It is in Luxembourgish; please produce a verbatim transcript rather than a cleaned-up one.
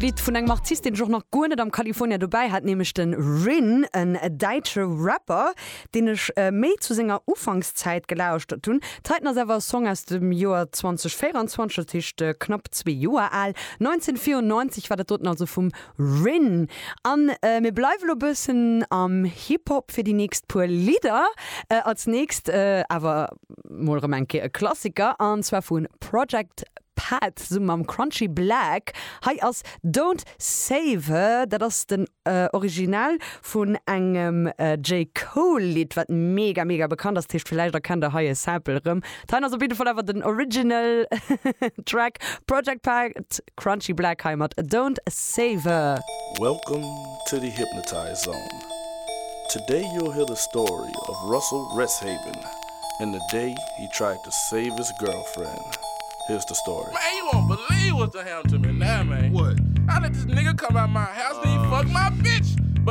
Lidd vun engem Artist, deen ech och nach guer net am California dobäi hat, nämlech de Rin, en däitsche Rapper, deen ech méi zu senger Ufankszäit gelauschtert hunn. Dat heiten ass awer e Song aus dem Joer zweedausendvéierenzwanzeg, dat heescht knapp zwee Joer al. neunzehnhundertvierundneunzig war dat doten also vum Rin. An mir bleiwe lo bëssen am Hip-Hop fir déi nächst puer Lidder. Als nächst awer mol erëm eng Kéier e Klassiker, an zwar vu Project Pat zesumme mam Crunchy Black. Hei ass Don't Save Her. Dat ass den Original vun engem J. Cole Lidd, wat mega mega bekannt ass. Dat heescht, villäicht erkennt der hei e Sample erëm. Dat heien ass op jidde Fall awer den Original Track. Project Pat, Crunchy Black hei mat Don't Save Her. Welcome to the Hypnotized Zone. Today you'll hear the story of Russell Resthaven and the day he tried to save his girlfriend. Here's the story. Man, you won't believe what's done happened to me now, man. What? I let this nigga come out my house, then